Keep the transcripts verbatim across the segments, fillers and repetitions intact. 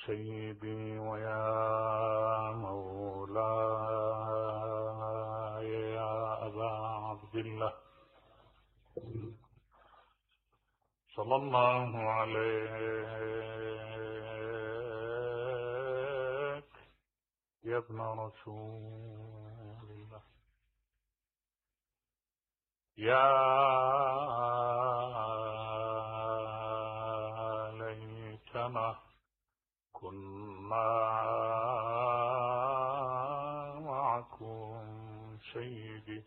سيدي ويا مولاي يا أبا عبد الله صلى الله عليك يا ابن رسول الله. يا ليتنا كنا معكم سيدي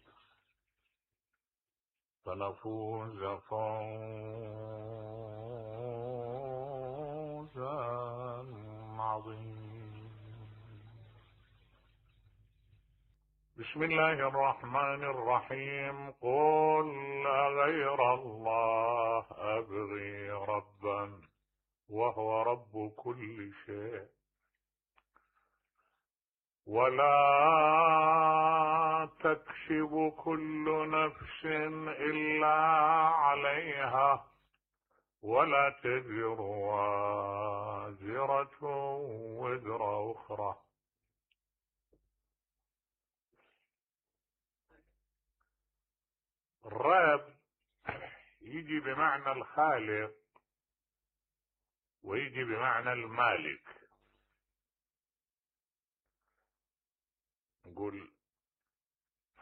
فنفوز فوزا عظيما. بسم الله الرحمن الرحيم. قل أغير الله أبغي ربا وهو رب كل شيء ولا تكسب كل نفس إلا عليها ولا تزر وازرة وزر أخرى. الرب يجي بمعنى الخالق ويجي بمعنى المالك. نقول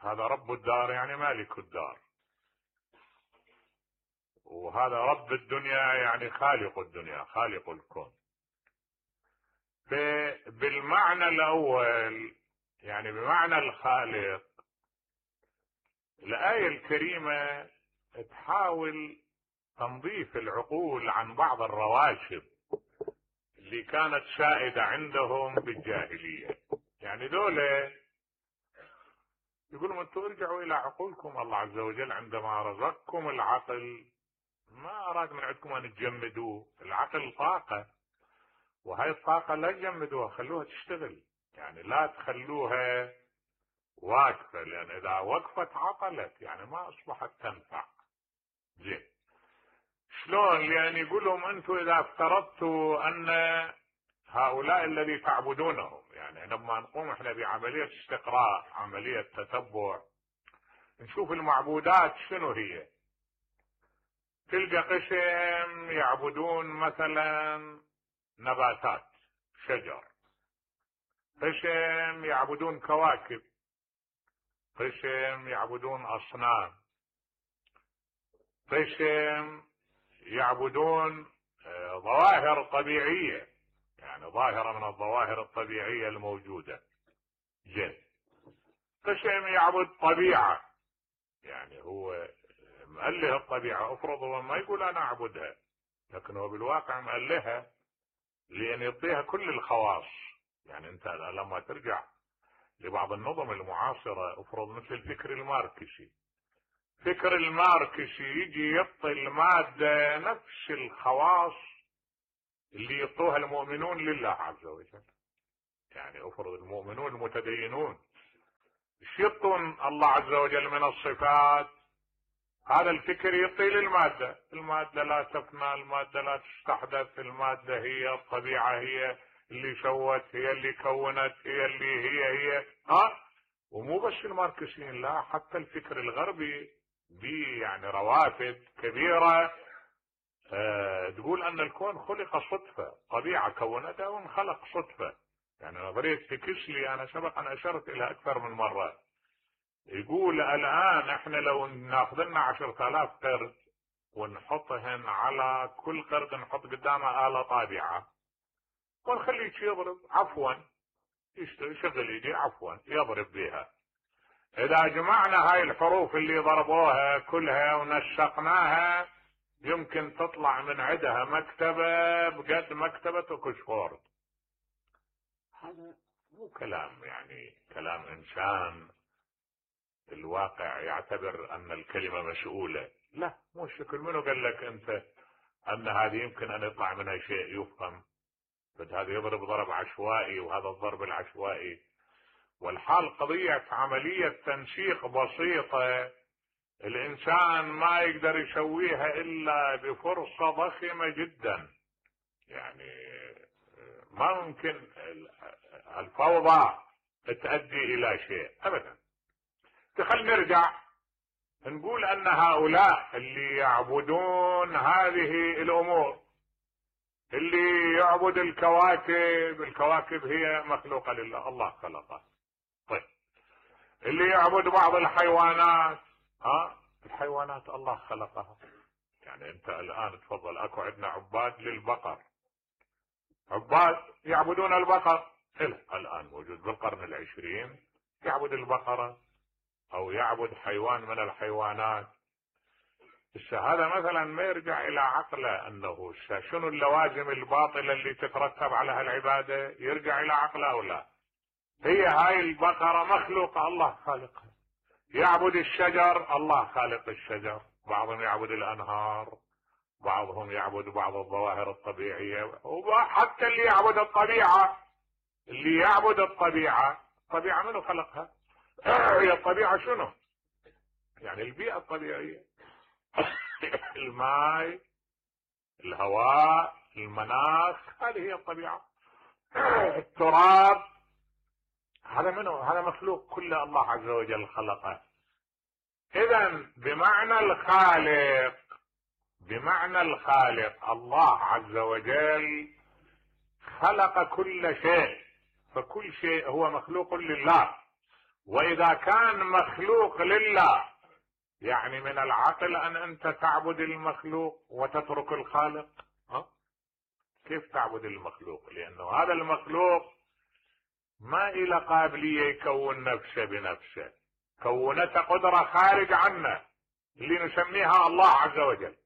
هذا رب الدار يعني مالك الدار، وهذا رب الدنيا يعني خالق الدنيا خالق الكون. بالمعنى الأول يعني بمعنى الخالق، الآية الكريمة تحاول تنظيف العقول عن بعض الرواشد اللي كانت سائدة عندهم بالجاهلية. يعني دولة يقولون انتم ارجعوا الى عقولكم. الله عز وجل عندما رزقكم العقل ما اراد من عندكم ان تجمدوه. العقل طاقة، وهي الطاقة لا تجمدوها، خلوها تشتغل. يعني لا تخلوها واقفة، لان اذا وقفت عطلت، يعني ما اصبحت تنفع. زين شلون؟ لان يقولهم انتم اذا افترضتوا ان هؤلاء الذي تعبدونهم، يعني لما نقوم احنا بعملية استقراء، عملية تتبع، نشوف المعبودات شنو هي. تلقى قسم يعبدون مثلا نباتات شجر، قسم يعبدون كواكب، قسم يعبدون أصنام، قسم يعبدون ظواهر طبيعية، يعني ظاهرة من الظواهر الطبيعية الموجودة. جن قسم يعبد طبيعة، يعني هو مأله الطبيعة. افرض هو ما يقول انا اعبدها، لكن هو بالواقع مألهها لان يعطيها كل الخواص. يعني انت لما ترجع لبعض النظم المعاصرة، افرض مثل الفكر الماركسي، فكر الماركسي يجي يعطي المادة نفس الخواص اللي يعطوها المؤمنون لله عز وجل. يعني افرض المؤمنون المتدينون ايش يعطون الله عز وجل من الصفات؟ هذا الفكر يعطي للمادة. المادة لا تفنى، المادة لا تستحدث، المادة هي الطبيعة، هي اللي سوت، هي اللي كونت، هي اللي هي هي ها. ومو بس الماركسيين، لا حتى الفكر الغربي بي يعني روافد كبيرة أه تقول ان الكون خلق صدفة، طبيعة كونتها وانخلق صدفة. يعني نظرية بيكسلي انا سبق ان اشرت الى اكثر من مرة. يقول الان احنا لو ناخذ لنا عشرة الاف قرد ونحطهن على كل قرد نحط قدامه آلة طابعة ونخليه يضرب عفوا، يشغل يدي عفوا يضرب بها. اذا جمعنا هاي الحروف اللي ضربوها كلها ونسقناها يمكن تطلع من عندها مكتبة بقد مكتبة اوكسفورد. هذا مو كلام يعني كلام انسان الواقع يعتبر ان الكلمة مسؤولة. لا مو الشكل. منو قال لك انت ان هذه يمكن ان يطلع منها شيء يفهم؟ هذا يضرب ضرب عشوائي وهذا الضرب العشوائي. والحال قضية عملية تنسيق بسيطة الانسان ما يقدر يسويها الا بفرصة ضخمة جدا. يعني ما ممكن الفوضى تؤدي الى شيء ابدا. خلينا نرجع نقول ان هؤلاء اللي يعبدون هذه الامور، اللي يعبد الكواكب، الكواكب هي مخلوقة لله، الله خلقها. طيب اللي يعبد بعض الحيوانات، ها الحيوانات الله خلقها. يعني انت الان تفضل اكو عندنا عباد للبقر، عباد يعبدون البقر، الان موجود بالقرن العشرين يعبد البقرة او يعبد حيوان من الحيوانات. هذا مثلا ما يرجع الى عقله انه شنو اللوازم الباطلة اللي تترتب على هالعبادة، يرجع الى عقله او لا؟ هي هاي البقرة مخلوقة الله خالقها. يعبد الشجر، الله خالق الشجر. بعضهم يعبد الانهار، بعضهم يعبد بعض الظواهر الطبيعية، وحتى اللي يعبد الطبيعة، اللي يعبد الطبيعة، الطبيعة منو خلقها؟ هي الطبيعة شنو؟ يعني البيئة الطبيعية، الماء، الهواء، المناخ، هذه هي الطبيعة. التراب، هذا منو؟ هذا مخلوق كله الله عز وجل خلقه. اذا بمعنى الخالق، بمعنى الخالق الله عز وجل خلق كل شيء، فكل شيء هو مخلوق لله. واذا كان مخلوق لله يعني من العقل ان انت تعبد المخلوق وتترك الخالق؟ ها؟ كيف تعبد المخلوق؟ لانه هذا المخلوق ما إلى قابلية يكون نفسه بنفسه، كونته قدرة خارج عنا اللي نسميها الله عز وجل.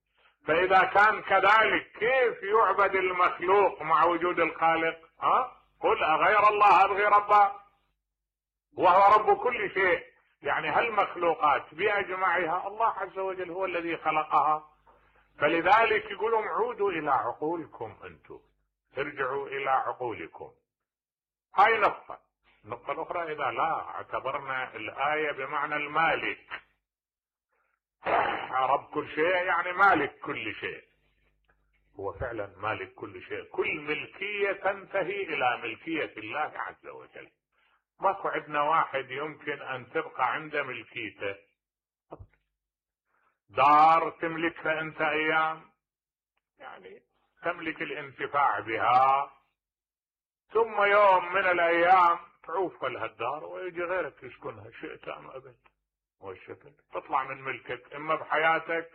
فإذا كان كذلك كيف يعبد المخلوق مع وجود الخالق؟ ها؟ قل أغير الله أبغي ربا وهو رب كل شيء. يعني هالمخلوقات بأجمعها الله عز وجل هو الذي خلقها. فلذلك يقولون عودوا إلى عقولكم، أنتم ارجعوا إلى عقولكم. هاي نقطة. النقطة الأخرى، إذا لا اعتبرنا الآية بمعنى المالك، رب كل شيء يعني مالك كل شيء، هو فعلا مالك كل شيء. كل ملكية تنتهي إلى ملكية الله عز وجل. ماكو عندنا واحد يمكن أن تبقى عنده ملكيته. دار تملكها أنت أيام، يعني تملك الانتفاع بها، ثم يوم من الايام تعوف لهالدار ويجي غيرك يسكنها، شئت ام ابد. والشكل تطلع من ملكك اما بحياتك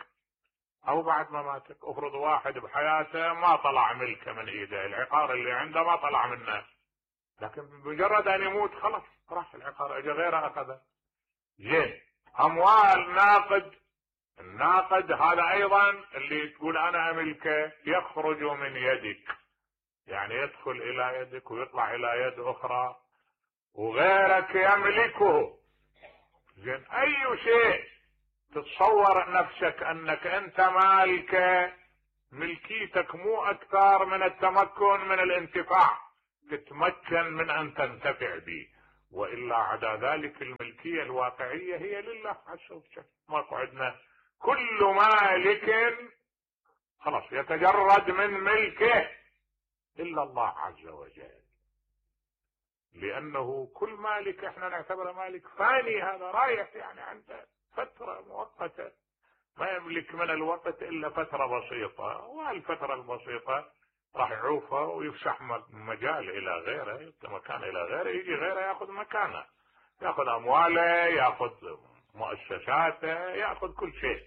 او بعد مماتك. افرض واحد بحياته ما طلع ملكه من ايده، العقار اللي عنده ما طلع منه، لكن بمجرد ان يموت خلاص راح العقار، اجى غيره اخذه. زين، اموال ناقد، الناقد هذا ايضا اللي تقول انا املكه يخرج من يدك، يعني يدخل الى يدك ويطلع الى يد اخرى وغيرك يملكه. زين، اي شيء تتصور نفسك انك انت مالكه، ملكيتك مو اكثر من التمكن من الانتفاع، تتمكن من ان تنتفع به، والا عدا ذلك الملكية الواقعية هي لله عز وجل. ماكو عندنا كل مالك خلاص يتجرد من ملكه إلا الله عز وجل، لأنه كل مالك احنا نعتبره مالك فاني، هذا رايح يعني عنده فترة مؤقتة، ما يملك من الوقت إلا فترة بسيطة، وهالفترة البسيطة راح يعوفها ويفسح مجال إلى غيره، مكان إلى غيره، يجي غيره يأخذ مكانه، يأخذ أمواله، يأخذ مؤسساته، يأخذ كل شيء.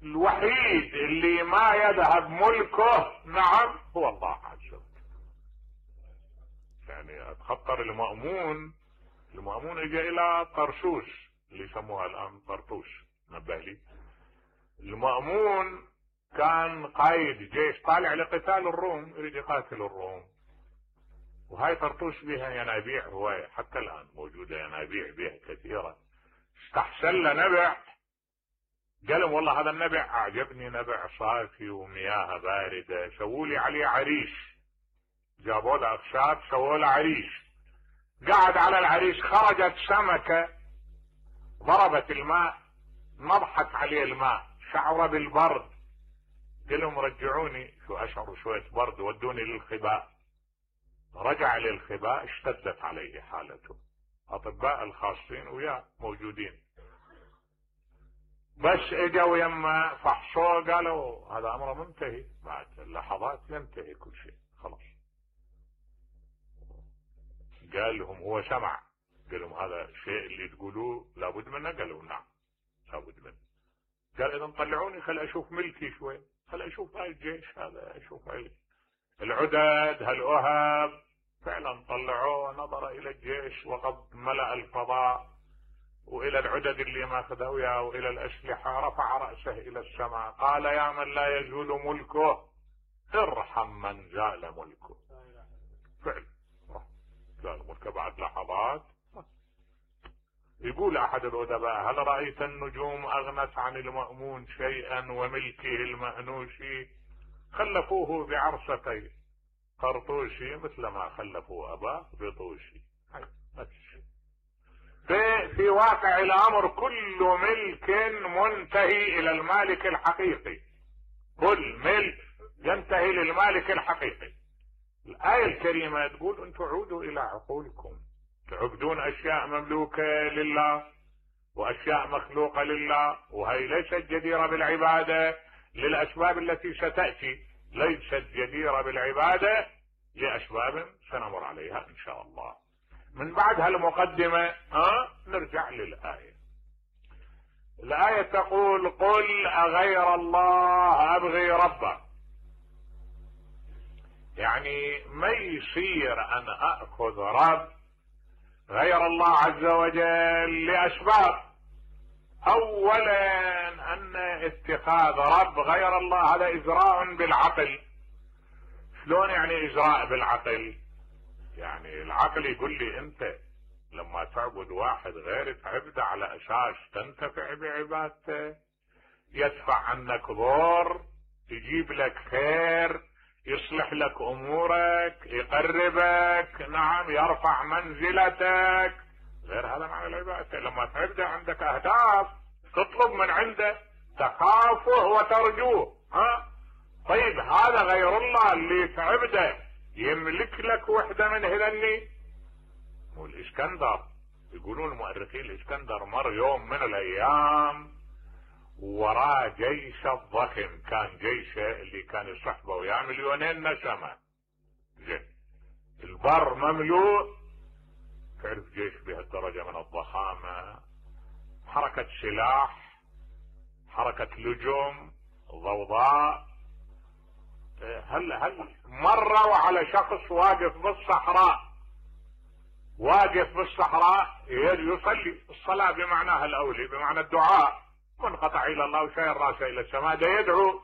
الوحيد اللي ما يذهب ملكه نعم هو الله عز وجل. يعني اتخطر المأمون، المأمون اجى الى طرشوش اللي يسموها الان طرطوش، نبه لي. المأمون كان قائد جيش طالع لقتال الروم، يريد يقاتل الروم، وهاي طرطوش بها ينابيع، هو حتى الان موجودة ينابيع بها كثيرة. استحسن له نبع، قال لهم والله هذا النبع اعجبني، نبع صافي ومياه باردة، سووا لي عليه عريش. جابوا له اخشاب سووا له عريش، قعد على العريش، خرجت سمكة ضربت الماء، نضحت عليه الماء، شعر بالبرد، قال لهم رجعوني، شو اشعر شوية برد، ودوني للخباء. رجع للخباء اشتدت عليه حالته. اطباء الخاصين وياه موجودين، بس اجوا يما فحصوه قالوا هذا امر منتهي، بعد لحظات ينتهي كل شيء خلاص. قال لهم هو سمع، قال لهم هذا الشيء اللي تقولوه لابد منه؟ قالوا نعم لابد منه. قال اذا طلعوني خل اشوف ملكي شوي، خل اشوف هاي الجيش هذا، اشوف هاي العدد هالأهب. فعلا طلعوه، نظر الى الجيش وقد ملأ الفضاء والى العدد اللي ماخذها وياه والى الاسلحة. رفع رأسه الى السماء قال يا من لا يزول ملكه ارحم من زال ملكه. فعلا زال ملكه بعد لحظات. يقول احد الادباء هل رأيت النجوم اغنت عن المأمون شيئا وملكه المأنوش خلفوه بعرستين قرطوشي مثل ما خلفوا اباه بطوشي. في, في واقع الامر كل ملك منتهي الى المالك الحقيقي، كل ملك ينتهي للمالك الحقيقي. الآية الكريمة تقول انتم عودوا الى عقولكم، تعبدون اشياء مملوكة لله واشياء مخلوقة لله، وهي ليست جديرة بالعبادة للاسباب التي ستأتي، ليست جديرة بالعبادة لاسباب سنمر عليها ان شاء الله. من بعد هالمقدمة ها نرجع للآية. الآية تقول قل أغير الله أبغي ربا، يعني ما يصير أن أخذ رب غير الله عز وجل لأسباب. أولا أن اتخاذ رب غير الله هذا إجراء بالعقل. شلون يعني إجراء بالعقل؟ يعني العقل يقول لي انت لما تعبد واحد غير تعبده على اساس تنتفع بعبادته، يدفع عنك ضر، يجيب لك خير، يصلح لك امورك، يقربك، نعم يرفع منزلتك، غير هذا معنى العبادة. لما تعبده عندك اهداف تطلب من عنده، تخافه وترجوه. ها طيب هذا غير الله اللي تعبده يملك لك وحدة من هذني. والاسكندر يقولون المؤرخين الاسكندر مر يوم من الايام وراه جيش الضخم، كان جيشه اللي كان يصحبه وياه مليونين نسمة، زين البر مملوء. تعرف جيش بهالدرجة من الضخامة، حركة سلاح، حركة لجوم، ضوضاء. هل هل مروا على شخص واقف بالصحراء، واقف بالصحراء يصلي الصلاة بمعناها الاولي بمعنى الدعاء، منقطع الى الله وشاير راسه الى السماء، ده يدعو،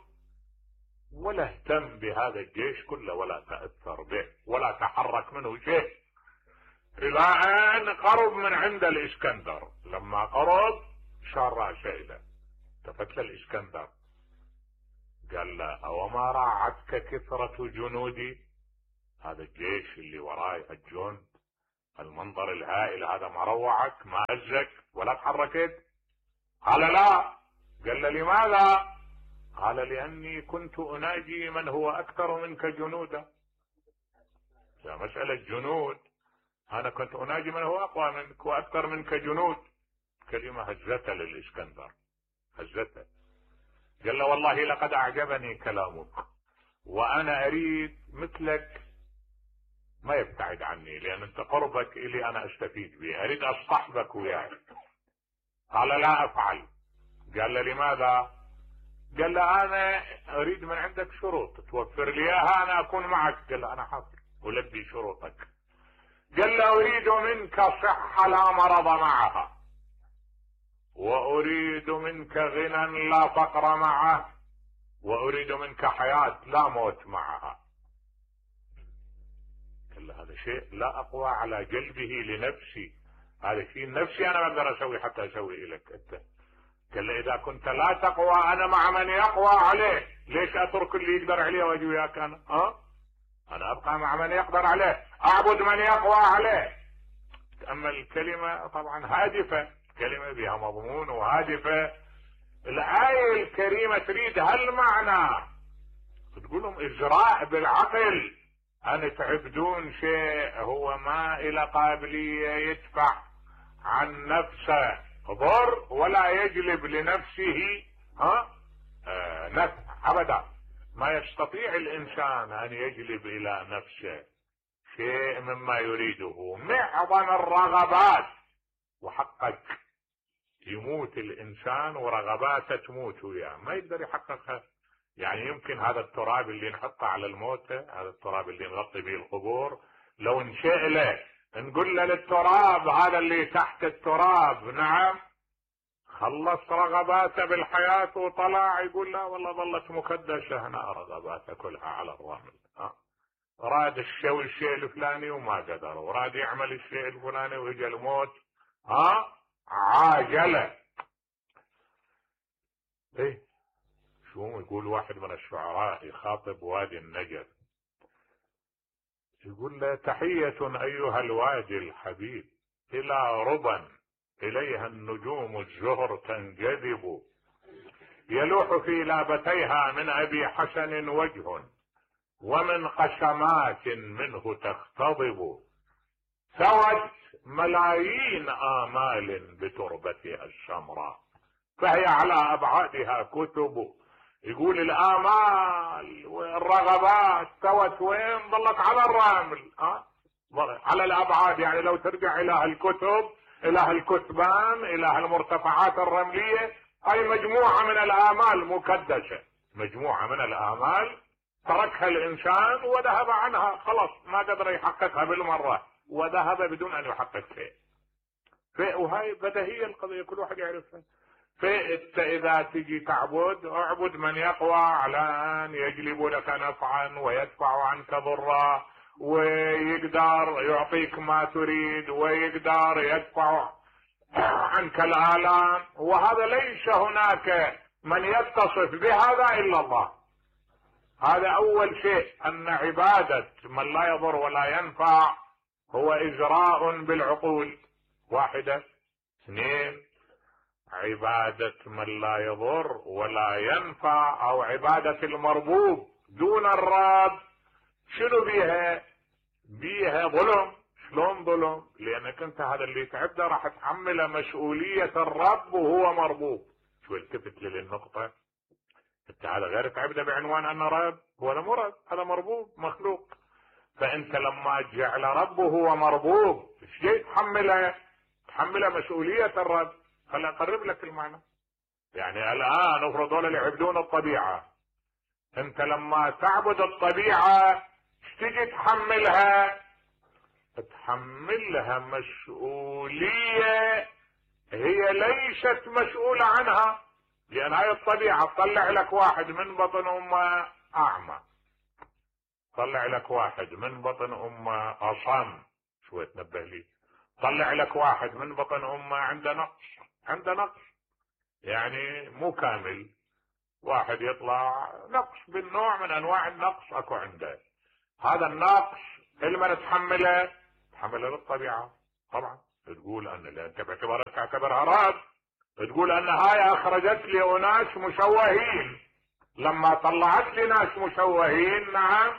ولا اهتم بهذا الجيش كله ولا تأثر به ولا تحرك منه شيء، الى ان قرب من عند الاسكندر. لما قرب شار راسه اليه، التفت له الاسكندر قال له اوما راعتك كثرة جنودي؟ هذا الجيش اللي وراي الجند المنظر الهائل هذا ما روعك ما هزك ولا تحركت؟ قال لا. قال له لماذا؟ قال لاني كنت اناجي من هو اكثر منك جنودا. يا مسألة جنود، انا كنت اناجي من هو اقوى منك واكثر منك جنود. كلمة هزتها للاسكندر، هزتها. قال له والله لقد اعجبني كلامك وانا اريد مثلك ما يبتعد عني، لان انت قربك الي انا استفيد به، اريد اصطحبك وياي. قال لا افعل. قال له لماذا؟ قال له انا اريد من عندك شروط توفر لي اياها انا اكون معك. قال له انا حاضر ولبي شروطك. قال له اريد منك صحة لا مرض معها، واريد منك غنى لا فقر معه، واريد منك حياة لا موت معها. قال له هذا شيء لا اقوى على جلبه لنفسي، هذا شيء نفسي انا ما اقدر اسوي حتى اسوي لك انت. قال له اذا كنت لا تقوى انا مع من يقوى عليه، ليش اترك اللي يقدر عليه واجي وياك انا؟ ها انا ابقى مع من يقدر عليه، اعبد من يقوى عليه. اما الكلمة طبعا هادفة، كلمة بها مضمون وهادفة. الآية الكريمة تريد هالمعنى، تقول لهم اجراء بالعقل، ان تعبدون شيء هو ما الى قابلية يدفع عن نفسه ضر ولا يجلب لنفسه ها آه نفع ابدا. ما يستطيع الانسان ان يجلب الى نفسه شيء مما يريده. معظم الرغبات وحقك يموت الانسان ورغباته تموت وياه، ما يقدر يحققها. يعني يمكن هذا التراب اللي نحطه على الموتى، هذا التراب اللي نغطي به القبور، لو نشئله نقول له للتراب هذا اللي تحت التراب نعم خلص رغباته بالحياة وطلع، يقول لا والله ظلت مكدسة هنا رغباته كلها على الرمل. ها راد الشيء الشيء الفلاني وما قدر، وراد يعمل الشيء الفلاني ويجي الموت ها عاجله. ايه شو يقول واحد من الشعراء يخاطب وادي النجف، يقول له تحية ايها الوادي الحبيب الى ربا اليها النجوم الزهر تنجذب، يلوح في لابتيها من ابي حسن وجه ومن قشمات منه تختضب، ثوت ملايين آمال بتربتها السمراء فهي على أبعادها كتب. يقول الآمال والرغبات ثوت وين؟ ظلت على الرمل أه؟ على الأبعاد. يعني لو ترجع إلى الكتب، إلى الكتبان، إلى المرتفعات الرملية، أي مجموعة من الآمال مكدسة، مجموعة من الآمال تركها الإنسان وذهب عنها، خلاص ما قدر يحققها بالمرة وذهب بدون أن يحقق شيء. وهاي بديهية القضية كل واحد يعرفها. فانت اذا تجي تعبد اعبد من يقوى على ان يجلب لك نفعا ويدفع عنك ضرا ويقدر يعطيك ما تريد ويقدر يدفع عنك الآلام، وهذا ليس هناك من يتصف بهذا الا الله. هذا اول شيء، ان عبادة من لا يضر ولا ينفع هو اجراء بالعقول واحدة. اثنين، عبادة من لا يضر ولا ينفع او عبادة المربوب دون الرب شنو بيها؟ بيها ظلم. شلون ظلم؟ لانك انت هذا اللي تعبده راح تحمله مسؤولية الرب وهو مربوب. شو التفت للنقطة، انت هذا غير تعبده بعنوان انه رب، ولا مرب، هذا مربوب مخلوق. فانت لما جعل ربه هو مربوب ايش جاي تحمله؟ تحمله مسؤولية الرب. خليني اقرب لك المعنى. يعني الان افرض دول اللي يعبدون الطبيعة، انت لما تعبد الطبيعة ايش تجي تحملها؟ تحملها مسؤولية هي ليست مسؤولة عنها. لان هاي الطبيعة تطلع لك واحد من بطن امه اعمى، طلع لك واحد من بطن امه اصم، شوي تنبه لي، طلع لك واحد من بطن امه عنده نقص، عنده نقص يعني مو كامل. واحد يطلع نقص بالنوع من انواع النقص اكو عنده. هذا النقص لمن تحمله؟ تحمله للطبيعة طبعا. تقول ان انت باعتبارك تعتبرها رب، تقول ان هاي اخرجت لي اناس مشوهين، لما طلعت لي ناس مشوهين نعم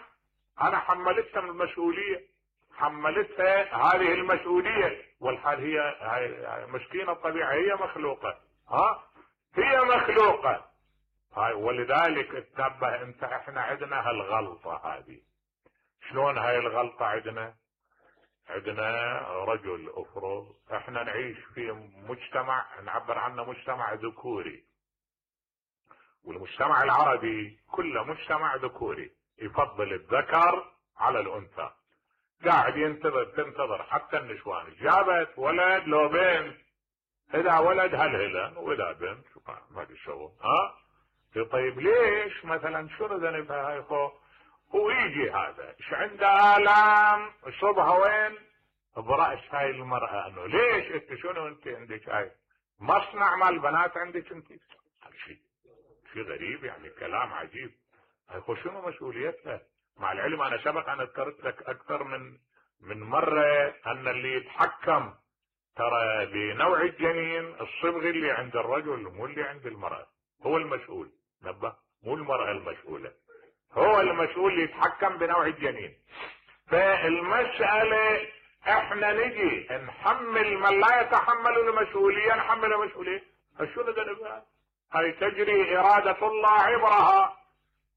انا حملتها من المسؤولية، حملتها هذه المسؤولية. والحال هي هاي مسكينة الطبيعة، هي مخلوقة ها هي مخلوقة هاي. ولذلك تنبه انت، احنا عندنا هالغلطة هذه. شلون هاي الغلطة عندنا؟ عندنا رجل افرض احنا نعيش في مجتمع نعبر عنه مجتمع ذكوري، والمجتمع العربي كله مجتمع ذكوري يفضل الذكر على الانثى. قاعد ينتظر تنتظر حتى النسوان جابت ولد لو بنت، اذا ولد هلهلا واذا بنت ما في شغل ها. طيب ليش مثلا شنو ذنبها هاي خو؟ ويجي هذا ايش عنده الام صبها وين؟ براس هاي المرأة. انه ليش انت شنو انت عندك هاي مصنع مال بنات عندك انت؟ هذا شيء شيء غريب يعني، كلام عجيب. هاي خو شنو مسؤوليتها؟ مع العلم انا سبق انا ذكرت لك اكثر من من مرة ان اللي يتحكم ترى بنوع الجنين الصبغي اللي عند الرجل مو اللي عند المرأة، هو المسؤول. نبه، مو المرأة المسؤولة. هو المسؤول اللي يتحكم بنوع الجنين. فالمسألة احنا نجي نحمل من لا يتحمل المسؤولية نحمل المسؤولية. شو ندري؟ هاي تجري إرادة الله عبرها.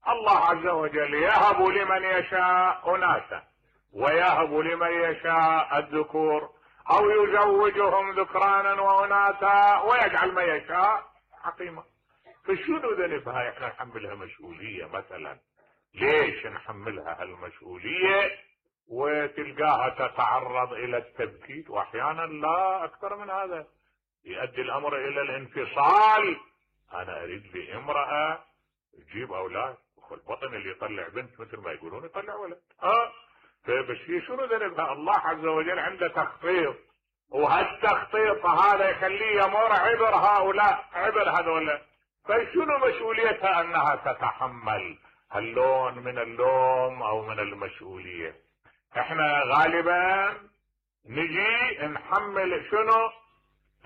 الله عز وجل يهب لمن يشاء أناثا ويهب لمن يشاء الذكور أو يزوجهم ذكرانا وأناثا ويجعل ما يشاء عقيما. فشو ندري بهاي احنا نحملها مسؤولية مثلا؟ ليش نحملها هالمسؤولية وتلقاها تتعرض الى التبكيت واحيانا لا اكثر من هذا يؤدي الامر الى الانفصال. انا اريد لي امرأة تجيب اولاد والبطن اللي يطلع بنت مثل ما يقولون يطلع ولد. اه فبس هي شنو ذنبها؟ الله عز وجل عنده تخطيط، وهالتخطيط هذا يخليه يمر عبر هؤلاء عبر هذولا. فشنو مسؤوليتها؟ انها تتحمل هاللون من اللوم او من المسؤولية. احنا غالبا نجي نحمل شنو؟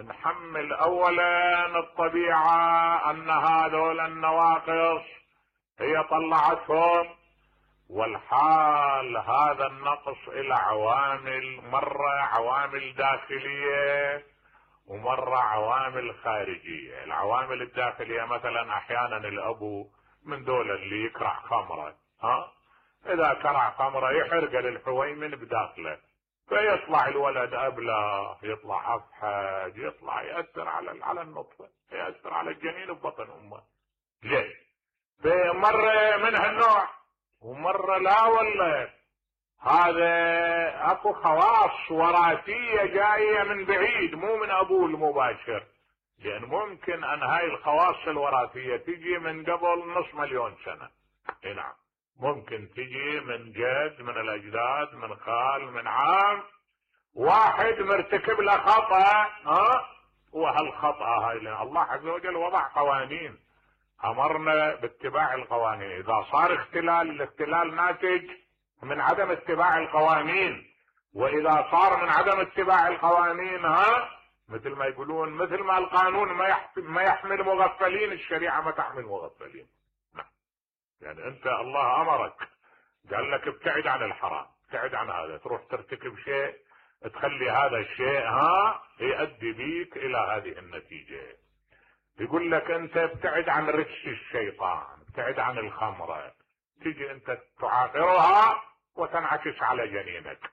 نحمل اولا الطبيعة ان هذول النواقص هي طلعتهم، والحال هذا النقص الى عوامل، مرة عوامل داخلية ومرة عوامل خارجية. العوامل الداخلية مثلا احيانا الابو من دول اللي يكرع خمرة، ها اذا كرع خمرة يحرق للحويمن بداخله فيطلع الولد ابله، يطلع افحج، يطلع يأثر على على النطفة، يأثر على الجنين ببطن امه. ليه؟ بمرة من هالنوع ومرة لا والله هذا اكو خواص وراثية جاية من بعيد مو من ابوه المباشر، لان ممكن ان هاي الخواص الوراثية تجي من قبل نص مليون سنة. نعم ممكن تجي من جد، من الاجداد، من خال، من عام، واحد مرتكب له خطأ، ها وهالخطأ هاي الله عز وجل وضع قوانين امرنا باتباع القوانين. اذا صار اختلال، الاختلال ناتج من عدم اتباع القوانين، واذا صار من عدم اتباع القوانين ها مثل ما يقولون مثل ما القانون ما يحمل, ما يحمل مغفلين، الشريعة ما تحمل مغفلين. نعم يعني انت الله امرك قال لك ابتعد عن الحرام، ابتعد عن هذا، تروح ترتكب شيء تخلي هذا الشيء ها يؤدي بيك الى هذه النتيجة. يقول لك انت ابتعد عن رجس الشيطان، ابتعد عن الخمرة، تيجي انت تعاقرها وتنعكس على جنينك.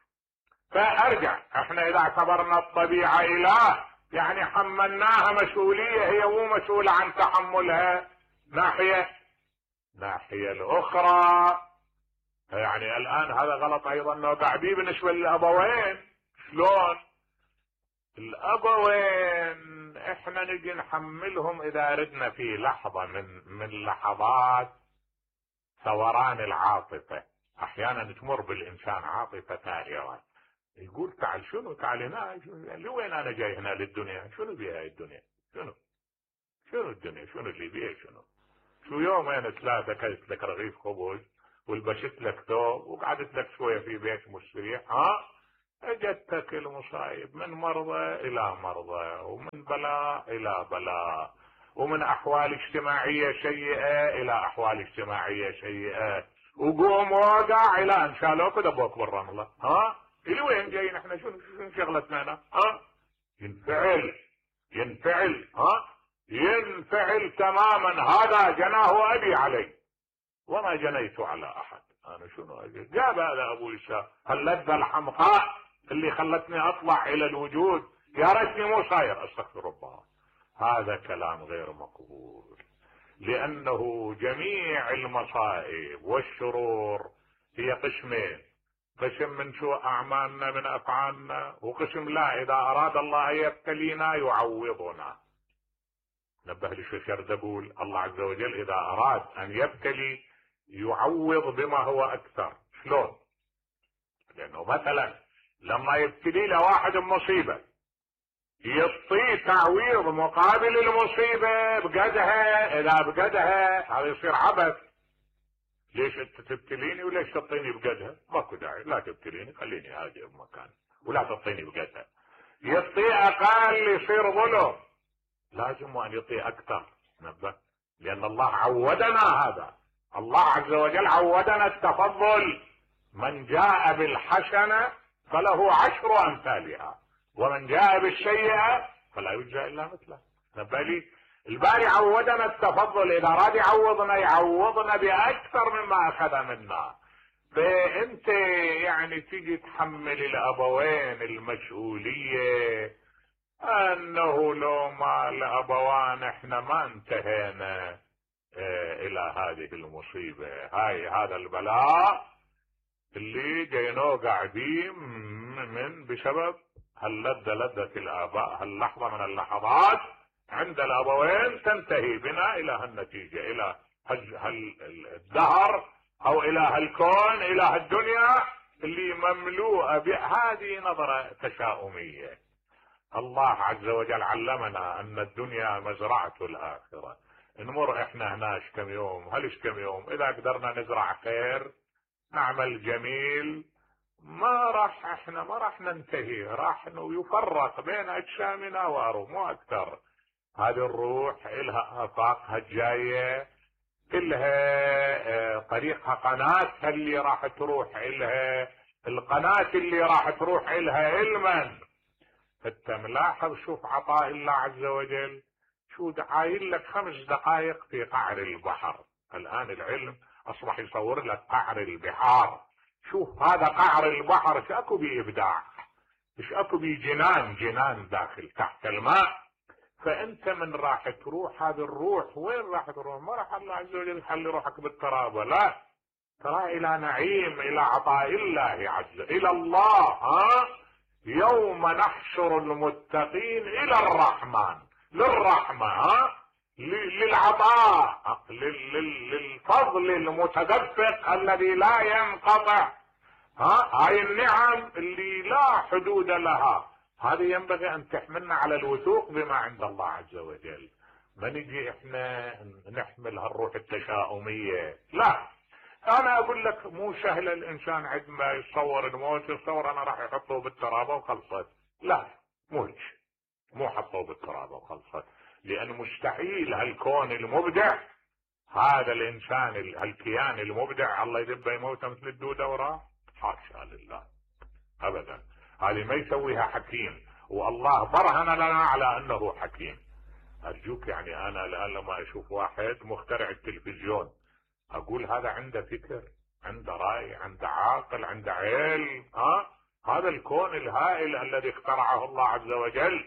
فارجع، احنا اذا اعتبرنا الطبيعة اله يعني حملناها مسؤولية، هي مو مسؤولة عن تحملها. ناحية ناحية الاخرى يعني الان هذا غلط ايضا نوقع به بالنسبة للابوين. شلون؟ الابوين احنا نجي نحملهم اذا ردنا في لحظة من من لحظات ثوران العاطفة. احيانا تمر بالانسان عاطفة ثائرة، يقول تعال شنو تعال هنا، لوين انا جاي هنا للدنيا؟ شنو بيها الدنيا؟ شنو شنو الدنيا؟ شنو اللي بيها؟ شنو شو يومين ثلاثة كلت لك رغيف خبز ولبست لك ثوب وقعدت لك شوية في بيت مستريح، ها اجتك المصايب من مرضى الى مرضى، ومن بلاء الى بلاء، ومن احوال اجتماعية سيئة الى احوال اجتماعية سيئة، وقوم وقع الى ان شالوك ودبوك بالرملة. ها الى وين جايين احنا؟ شنو شنو شغلتنا هنا؟ ها ينفعل ينفعل ها ينفعل تماما. هذا جناه ابي علي وما جنيت على احد. انا شنو اجي؟ جاب هذا ابو اسحاق هاللذة الحمقاء اللي خلتني اطلع الى الوجود، يا ريتني مو صاير. استغفر الله، هذا كلام غير مقبول، لانه جميع المصائب والشرور هي قسمين: قسم من سوء اعمالنا من افعالنا، وقسم لا اذا اراد الله ان يبتلينا يعوضنا. نبه للشيخ يردبول الله عز وجل اذا اراد ان يبتلي يعوض بما هو اكثر. شلون؟ لانه مثلا لما يبتلي له واحد مصيبة يعطيه تعويض مقابل المصيبة بقدها، اذا بقدها هذا يصير عبث. ليش انت تبتليني وليش تعطيني بقدها؟ ماكو داعي، لا تبتليني خليني هادئ بمكاني ولا تعطيني بقدها. يعطيه اقل يصير ظلم، لازم ان يعطيه اكثر. نبه، لان الله عودنا هذا، الله عز وجل عودنا التفضل، من جاء بالحسنة فله عشر أمثالها ومن جاء بالسيئة فلا يجزى إلا مثله. نبالي الباري عودنا التفضل، إذا راد يعوضنا يعوضنا بأكثر مما أخذ منا. فأنت يعني تيجي تحمل الأبوين المسؤولية أنه لو ما الأبوان إحنا ما انتهينا اه إلى هذه المصيبة، هاي هذا البلاء اللي جينو قاعدين من بسبب هاللذة لذة الآباء، هاللحظة من اللحظات عند الأبوين تنتهي بنا إلى هالنتيجة، إلى هالدهر أو إلى هالكون، إلى هالدنيا اللي مملوءة بهذه نظرة تشاؤمية. الله عز وجل علمنا أن الدنيا مزرعة الآخرة. نمر إحنا هناش كم يوم، هلش كم يوم، إذا قدرنا نزرع خير نعمل جميل، ما راح احنا ما راح ننتهي، راح انه يفرق بين اجسامنا وارواح مو اكثر. هذه الروح الها افاقها الجايه، كلها طريقها قناتها اللي راح تروح الها، القناه اللي راح تروح الها علما. انت ملاحظ شوف عطاء الله عز وجل، شو عايل لك خمس دقائق في قعر البحر. الان العلم اصبح يصور لك قعر البحار. شوف هذا قعر البحر ايش اكو بإبداع، ايش اكو بجنان، جنان داخل تحت الماء. فانت من راح تروح هذه الروح وين راح تروح؟ ما راح الله عز وجل يخلي روحك بالتراب، لا، ترى الى نعيم، الى عطاء الله عز وجل، الى الله. ها يوم نحشر المتقين الى الرحمن، للرحمة، ها للعطاء، للفضل المتدفق الذي لا ينقطع. ها هاي النعم اللي لا حدود لها، هذه ينبغي ان تحملنا على الوثوق بما عند الله عز وجل. ما نجي احنا نحمل هالروح التشاؤمية، لا. انا اقول لك مو سهل الانسان عندما يتصور الموت يتصور انا راح يحطوه بالترابة وخلصت، لا، مو هيك، مو حطوه بالترابة وخلصت، لأن مستحيل هالكون المبدع، هذا الإنسان هالكيان المبدع الله يدبه يموته مثل الدودة وراه، حاشا لله أبدا. هذه ما يسويها حكيم، والله برهن لنا على أنه حكيم. أرجوك يعني أنا الآن لما أشوف واحد مخترع التلفزيون أقول هذا عنده فكر، عنده رأي، عنده عاقل، عنده علم. ها هذا الكون الهائل الذي اخترعه الله عز وجل،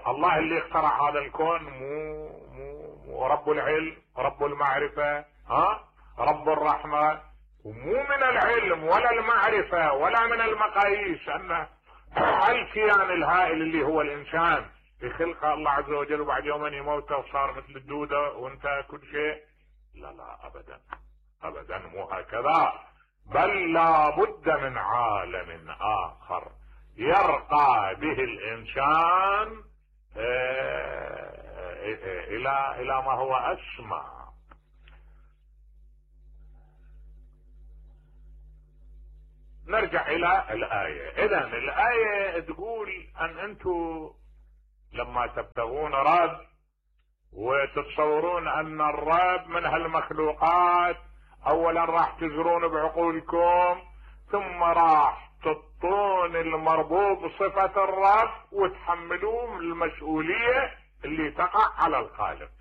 الله اللي اخترع هذا الكون مو مو, مو رب العلم، رب المعرفة، ها رب الرحمة. ومو من العلم ولا المعرفة ولا من المقاييس ان الكيان الهائل اللي هو الانسان بخلقه الله عز وجل وبعد يومين يموت وصار مثل الدودة وانتهى كل شيء. لا لا ابدا ابدا، مو هكذا، بل لا بد من عالم اخر يرقى به الانسان الى الى ما هو اسمى. نرجع الى الايه. اذا الايه تقول ان انتم لما تبتغون رب وتتصورون ان الرب من هالمخلوقات، اولا راح تزرون بعقولكم ثم راح تطون المربوط بصفة الرب وتحملون المسؤولية اللي تقع على الخالق.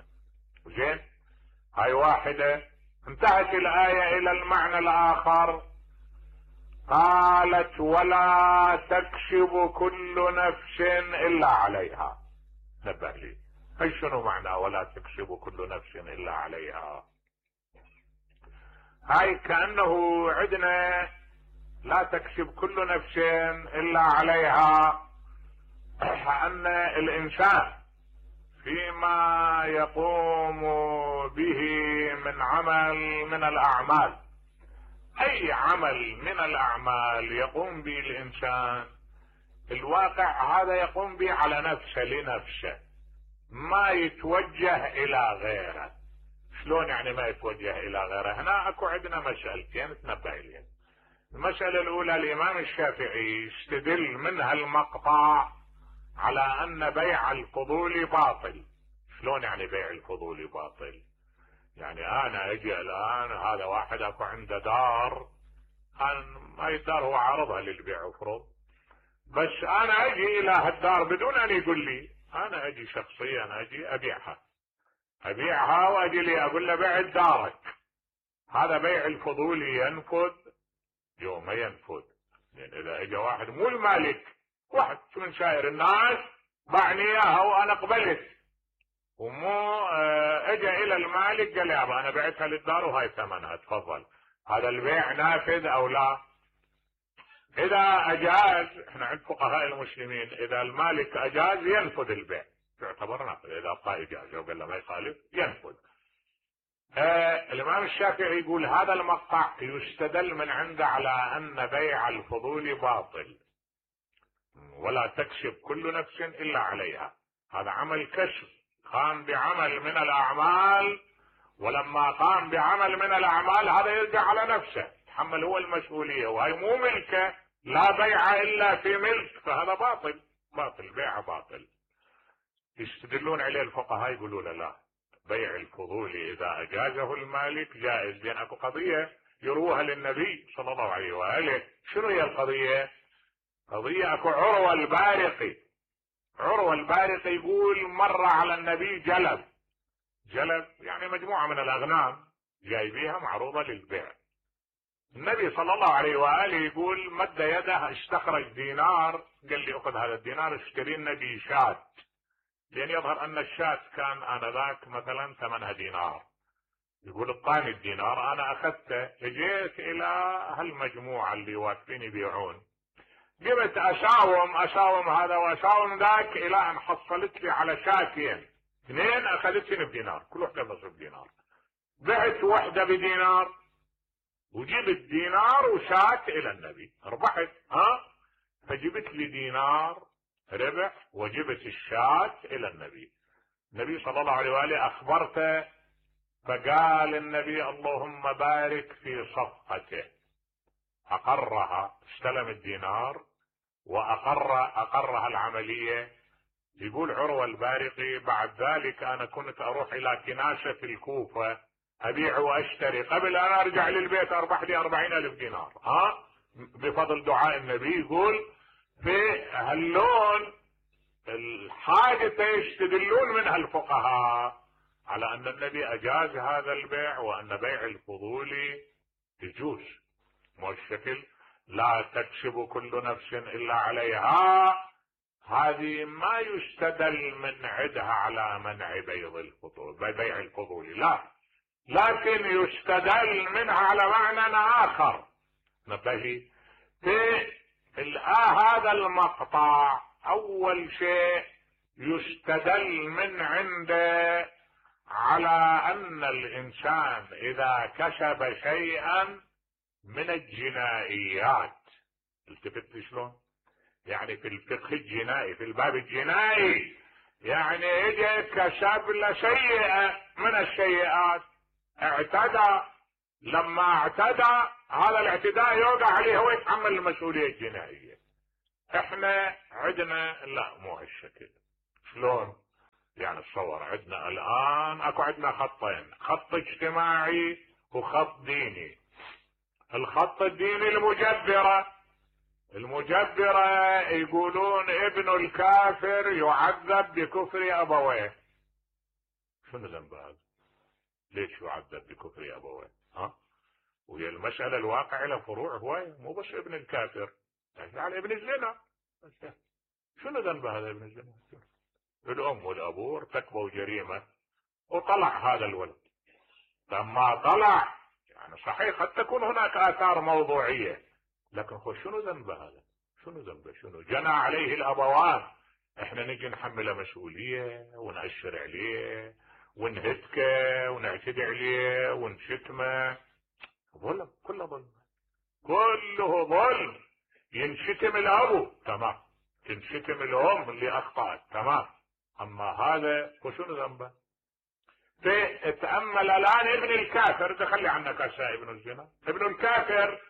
زين، هاي واحدة. انتهت الآية إلى المعنى الآخر، قالت ولا تكسب كل نفس إلا عليها. نبه لي، هاي شنو معنى ولا تكسب كل نفس إلا عليها؟ هاي كأنه عندنا لا تكسب كل نفس إلا عليها، أن الإنسان فيما يقوم به من عمل من الأعمال، أي عمل من الأعمال يقوم به الإنسان، الواقع هذا يقوم به على نفسه لنفسه، ما يتوجه إلى غيره. شلون يعني ما يتوجه إلى غيره؟ هنا أكو عندنا مسألتين تنبه إليهم. المسألة الأولى، الإمام الشافعي يستدل من هالمقطع على أن بيع الفضول باطل. شلون يعني بيع الفضول باطل؟ يعني انا اجي الان هذا واحد اكو عنده دار، كان هاي الدار هو عارضها للبيع وفروض، بس انا اجي الى هالدار بدون ان يقول لي، انا اجي شخصيا اجي ابيعها ابيعها واجي لي اقول له بعت دارك. هذا بيع الفضولي ينفذ يوم ما ينفذ. لان اذا اجى واحد مو المالك، واحد من شاير الناس باعني اياها وانا قبلت، ومو اجى الى المالك قال يابا انا بعتها للدار وهاي ثمنها تفضل، هذا البيع نافذ او لا؟ اذا اجاز، احنا عند فقهاء المسلمين اذا المالك اجاز ينفذ البيع يعتبر نافذ، اذا اعطاه اجازه وقال له ما يخالف ينفذ. آه الامام الشافعي يقول هذا المقطع يستدل من عنده على ان بيع الفضول باطل، ولا تكسب كل نفس الا عليها. هذا عمل كسب، قام بعمل من الاعمال، ولما قام بعمل من الاعمال هذا يرجع على نفسه، يتحمل هو المسؤوليه، وهي مو ملكه، لا بيع الا في ملك، فهذا باطل باطل بيع باطل. يستدلون عليه الفقهاء يقولون لا، بيع الفضول اذا اجازه المالك جائز. لان اكو قضيه يروها للنبي صلى الله عليه واله. شنو هي القضيه؟ قضيه اكو عروه البارقي. عروه البارقي يقول مر على النبي جلب، جلب يعني مجموعه من الاغنام جايبيها معروضه للبيع. النبي صلى الله عليه واله يقول مد يده استخرج دينار، قال لي اخذ هذا الدينار اشتري لنا به شاة، لان يظهر ان الشاة كان انذاك مثلا ثمنها دينار. يقول اعطاني الدينار انا اخذته، اجيت الى هالمجموعه اللي واقفين يبيعون، جبت اشاوم اشاوم هذا واشاوم ذاك الى ان حصلت لي على شاتين، اثنين اخذتني بدينار، كل وحده بنصف دينار. بعت وحده بدينار وجبت دينار وشات الى النبي، ربحت. ها فجبت لي دينار ربح وجبت الشات الى النبي. النبي صلى الله عليه واله اخبرته، فقال النبي اللهم بارك في صفقته. اقرها، استلم الدينار واقر اقرها العمليه. يقول عروه البارقي بعد ذلك انا كنت اروح الى كناسه في الكوفه ابيع واشتري، قبل ان ارجع للبيت اربح لي أربعين الف دينار، ها بفضل دعاء النبي. يقول في هاللون الحاجة يستدلون منها الفقهاء على ان النبي اجاز هذا البيع، وان بيع الفضول يجوز. مو الشكل لا تكسب كل نفس الا عليها، هذه ما يستدل من عدها على منع بيع الفضول بيع الفضول، لا، لكن يستدل منها على معنى اخر. نبهي في هذا المقطع اول شيء يستدل من عنده على ان الانسان اذا كسب شيئا من الجنائيات، التفت شلون؟ يعني في الفقه الجنائي، في الباب الجنائي، يعني اجى كسب له سيئة من السيئات، اعتدى، لما اعتدى هذا الاعتداء يوقع عليه هو يتحمل المسؤولية الجنائية. احنا عندنا لا مو هالشكل. شلون؟ يعني تصور عندنا الان اكو عندنا خطين، خط اجتماعي وخط ديني. الخط الديني المجبرة، المجبرة يقولون ابن الكافر يعذب بكفر ابويه. شنو ذنب هذا؟ ليش يعذب بكفر ابويه؟ ها؟ وهي المسألة الواقع لها فروع هواية، مو بس ابن الكافر، يعني ابن الزنا. شنو ذنب هذا ابن الزنا؟ الام والابو ارتكبوا جريمة وطلع هذا الولد، لما طلع يعني صحيح قد تكون هناك آثار موضوعية، لكن خو شنو ذنب هذا؟ شنو ذنبه؟ شنو جنى عليه الابوان؟ احنا نجي نحمله مسؤولية ونأشر عليه ونهتكه ونعتدي عليه ونشتمه. ظلم، كله ظلم، كله ظلم. ينشتم الابو تمام، تنشتم الام اللي اخطأت تمام، اما هذا وشنو ذنبه؟ تأمل الان ابن الكافر، تخلي عنك اشياء ابن الزنا، ابن الكافر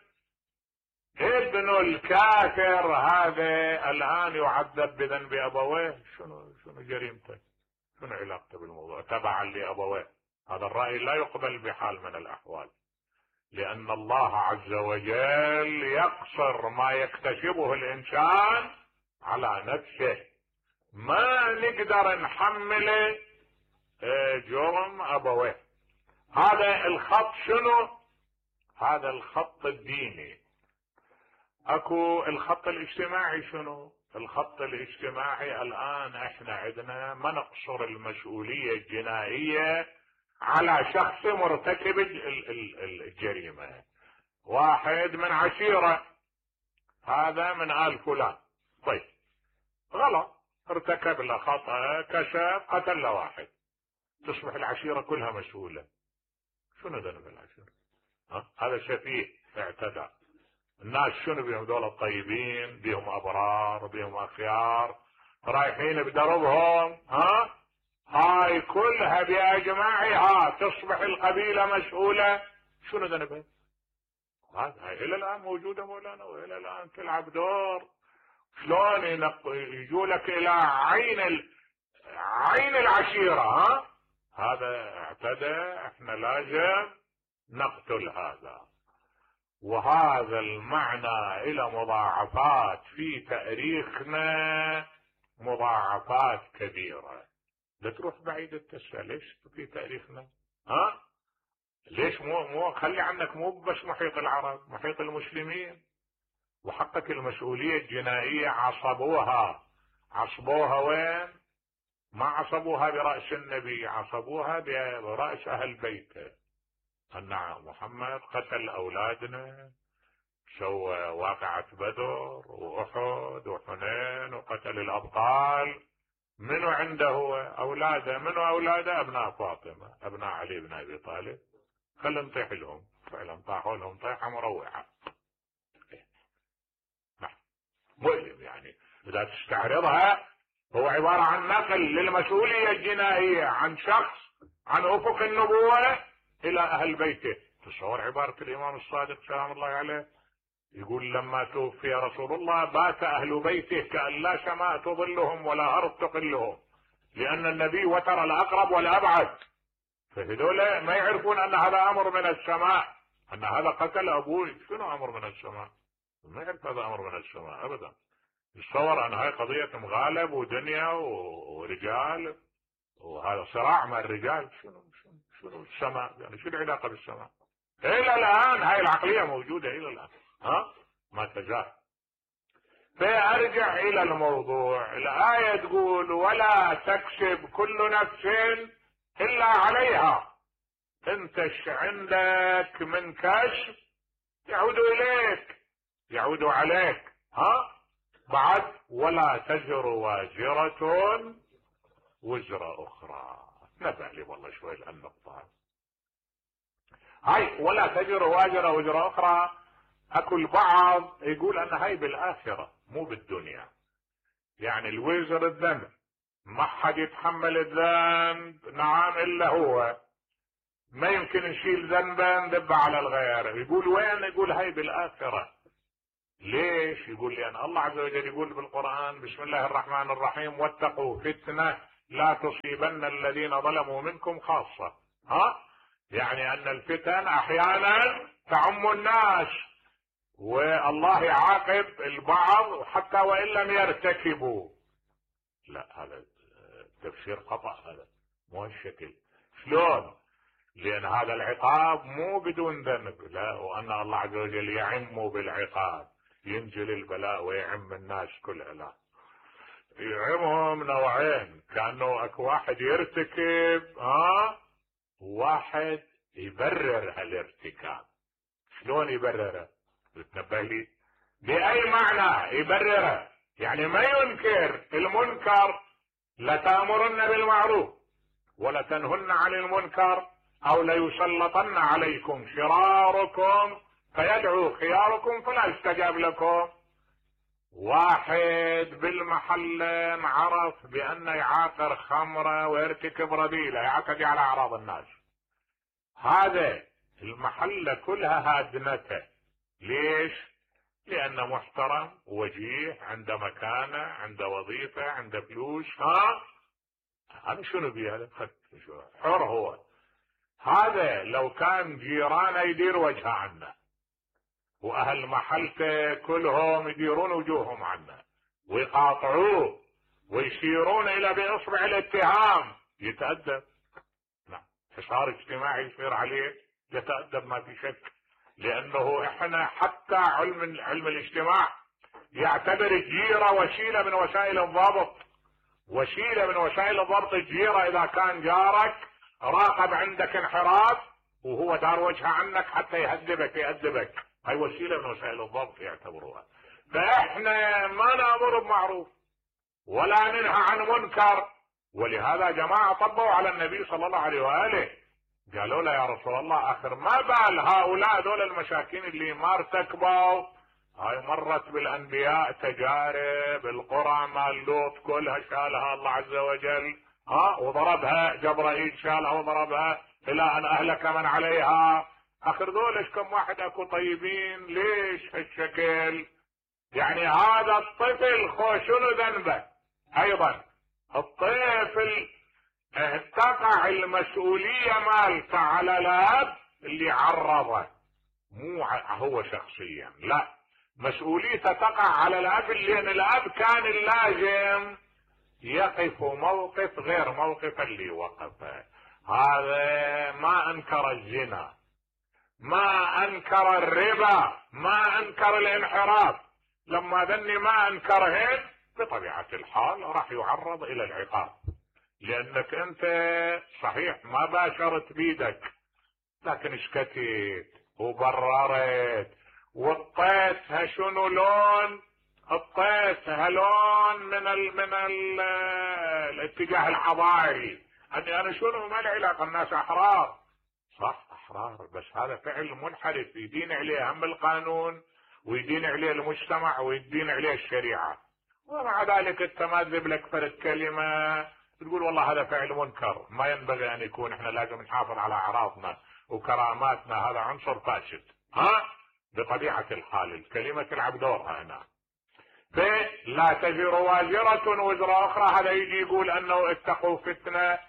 ابن الكافر هذا الان يعذب بذنب ابويه. شنو شنو جريمته؟ شنو علاقته بالموضوع؟ تبعا لابويه هذا الرأي لا يقبل بحال من الأحوال، لأن الله عز وجل يقصر ما يكتسبه الإنسان على نفسه، ما نقدر نحمله جرم أبويه. هذا الخط شنو؟ هذا الخط الديني. اكو الخط الاجتماعي. شنو الخط الاجتماعي؟ الآن احنا عندنا ما نقصر المسؤولية الجنائية على شخص مرتكب الجريمة. واحد من عشيرة، هذا من آل فلان، طيب غلط، ارتكب له خطأ، كشف، قتل له واحد، تصبح العشيرة كلها مسؤولة. شنو ذنب العشيرة؟ ها؟ هذا سفيه اعتدى. الناس شنو بيهم؟ دول الطيبين، بيهم ابرار، بيهم اخيار، رايحين بدربهم، ها هاي كلها باجماعها تصبح القبيلة مسؤولة. شنو ذنبها؟ هاي الى الان موجودة مولانا، والى الان تلعب دور. شلون يجوا لك الى عين ال... عين العشيرة، ها هذا اعتدى، احنا لازم نقتل هذا. وهذا المعنى الى مضاعفات في تاريخنا، مضاعفات كبيرة. لا تروح بعيد التسأل ليش في تاريخنا، ها ليش مو مو خلي عنك مو بس محيط العرب، محيط المسلمين. وحقك المسؤولية الجنائية عصبوها، عصبوها وين؟ ما عصبوها برأس النبي، عصبوها برأس اهل بيته. أن محمد قتل أولادنا، سوى واقعة بدر وأحد وحنين وقتل الأبطال. منو عنده هو؟ أولاده. منو أولاده؟ أبناء فاطمة، أبناء علي بن أبي طالب. خلنا نطيح لهم، فعلا طاحوا لهم طيحة مروعة. مؤلم يعني إذا تستعرضها. هو عبارة عن نقل للمسؤولية الجنائية عن شخص عن أفق النبوة الى اهل بيته. تصور عبارة الامام الصادق سلام الله عليه، يقول لما توفي رسول الله بات اهل بيته كأن لا سماء تظلهم ولا ارض تقلهم، لان النبي وتر الاقرب والابعد. فهذول ما يعرفون ان هذا امر من السماء، ان هذا قتل ابوي. شنو امر من السماء؟ ما يعرف هذا امر من السماء ابدا. يتصور ان هاي قضية مغالب ودنيا ورجال، وهذا صراع مع الرجال. شنو شنو شنو السماء يعني؟ شو العلاقة بالسماء؟ الى الان هاي العقلية موجودة الى الان، ها ما تزال. فارجع الى الموضوع. الآية تقول ولا تكسب كل نفس الا عليها. انت ايش عندك من كسب يعود اليك، يعود عليك. ها بعد ولا تزر وازرة وزر اخرى. نبه لي والله شوي النقطة هاي، ولا تزر وازرة وزر اخرى. اكو البعض يقول ان هاي بالاخرة مو بالدنيا، يعني الوزر الذنب ما حد يتحمل الذنب، نعم الا هو، ما يمكن نشيل ذنبا ندب على الغير. يقول وين؟ يقول هاي بالاخرة. ليش؟ يقول لان الله عز وجل يقول بالقرآن بسم الله الرحمن الرحيم واتقوا فتنة لا تصيبن الذين ظلموا منكم خاصة. ها يعني ان الفتن احيانا تعم الناس، والله يعاقب البعض حتى وان لم يرتكبوا. لا هذا تفسير خطأ، هذا مو الشكل. شلون؟ لان هذا العقاب مو بدون ذنب، لا، وان الله عز وجل يعم بالعقاب، ينزل البلاء ويعم الناس كلها. لا، يعمهم نوعين، كانه اكو واحد يرتكب ها واحد يبرر هالارتكاب. شلون يبرره؟ بتنبه لي باي معنى يبرره؟ يعني ما ينكر المنكر، لتأمرن بالمعروف ولا تنهن عن المنكر او ليسلطن عليكم شراركم فيدعو خياركم فلا يستجاب لكم. واحد بالمحل عرف بان يعاقر خمرة ويرتكب رذيلة، يعتدي على اعراض الناس، هذا المحلة كلها هادنته. ليش؟ لانه محترم وجيه، عنده مكانة، عنده وظيفة، عنده فلوس. ها هذا شنو بيه؟ هذا حر هو. هذا لو كان جيرانه يدير وجهه عنه، واهل محلته كلهم يديرون وجوههم عنه ويقاطعوه ويشيرون الى باصبع الاتهام، يتأدب. نعم، حصار اجتماعي يصير عليه، يتأدب ما في شك. لانه احنا حتى علم علم الاجتماع يعتبر الجيرة وسيلة من وسائل الضبط، وسيلة من وسائل الضبط الجيرة. اذا كان جارك راقب عندك انحراف وهو دار وجهه عنك حتى يهذبك يأدبك، هاي وسيلة من وسائل الضبط يعتبروها. فاحنا ما نأمر بمعروف ولا ننهى عن منكر. ولهذا جماعة طبوا على النبي صلى الله عليه وآله، قالوا له يا رسول الله اخر ما بال هؤلاء دول المساكين اللي ما ارتكبوا، هاي مرت بالانبياء تجارب، القرى مال لوط كلها شالها الله عز وجل، ها وضربها جبرائيل شالها وضربها الى ان اهلك من عليها. اخر دولش كم واحد اكو طيبين، ليش هالشكل؟ يعني هذا الطفل خو شنو ذنبه؟ ايضا الطفل تقع المسؤولية مالته على الاب اللي عرضه، مو هو شخصيا، لا، مسؤوليته تقع على الاب، لان الاب كان اللازم يقف موقف غير موقف اللي وقفه. هذا ما انكر الزنا، ما انكر الربا، ما انكر الانحراف، لما ذني ما انكرهن بطبيعة الحال راح يعرض الى العقاب، لانك انت صحيح ما باشرت بيدك لكن اشكتت وبررت وطيتها شنو لون، اطيتها لون من ال من ال الاتجاه الحضاري، اني انا شنو ما له علاقه، الناس احرار، صح احرار، بس هذا فعل منحرف يدين عليه هم القانون ويدين عليه المجتمع ويدين عليه الشريعه. ومع ذلك انت ما تذب لك فرد كلمه تقول والله هذا فعل منكر، ما ينبغي ان يكون، احنا لازم نحافظ على اعراضنا وكراماتنا، هذا عنصر فاسد. ها بطبيعه الحال الكلمه تلعب دورها هنا. فلا تزر وازرة وزر اخرى، هذا يجي يقول انه اتقوا فتنة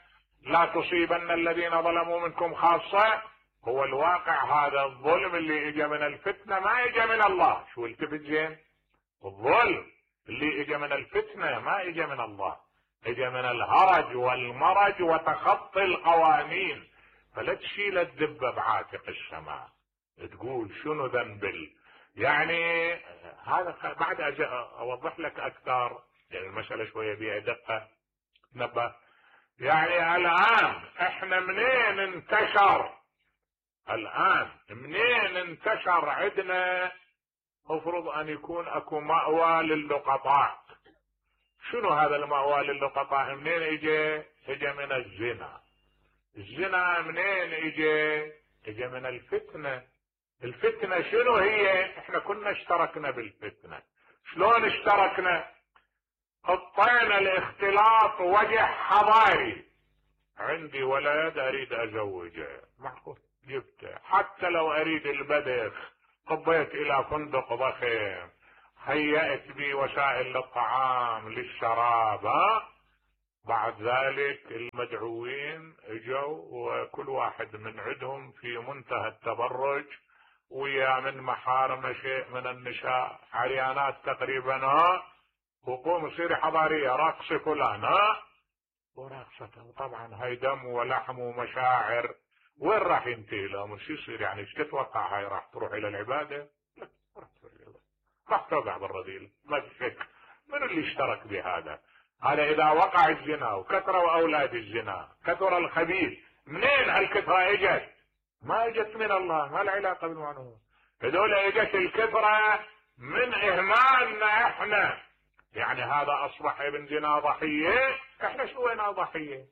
لا تصيبن الذين ظلموا منكم خاصة. هو الواقع هذا الظلم اللي اجى من الفتنة ما اجى من الله، شو التفت زين، الظلم اللي اجى من الفتنة ما اجى من الله، اجى من الهرج والمرج وتخطي القوانين. فلا تشيل الدبة بعاتق السماء تقول شنو ذنب، يعني هذا بعد اوضح لك اكثر، يعني المسألة شوية بيها دقة نبه. يعني الان احنا منين انتشر، الان منين انتشر عندنا مفروض ان يكون اكو مأوى للقطاع. شنو هذا المأوى للقطاع؟ منين اجى؟ اجى من الزنا. الزنا منين اجى؟ اجى من الفتنة. الفتنة شنو هي؟ احنا كنا اشتركنا بالفتنة. شلون اشتركنا؟ حطينا الاختلاط وجه حضاري، عندي ولد اريد ازوجه، معقول جبته، حتى لو اريد البدخ طبيت الى فندق ضخم، هيأت بي وسائل للطعام للشراب، ها بعد ذلك المدعوين اجوا وكل واحد من عندهم في منتهى التبرج ويا من محارم شيء من النساء عريانات تقريبا، ها وقوم صيري حضارية رقص فلان، ها ورقصته طبعا هاي دم ولحم ومشاعر، وين راح ينتهي الامر؟ شو يصير يعني؟ ايش تتوقع؟ هاي راح تروح الى العبادة؟ لا راح تروح الى العبادة، راح توقع بالرذيل ما في شك. من اللي اشترك بهذا؟ هذا اذا وقع الزنا وكثروا اولاد الزنا، كثر الخبيث، منين هالكثرة اجت؟ ما اجت من الله، ما لها علاقة بالمعنى، هذول اجت الكثرة من اهمالنا احنا. يعني هذا اصبح ابن زنا ضحية، احنا سوينا ضحية.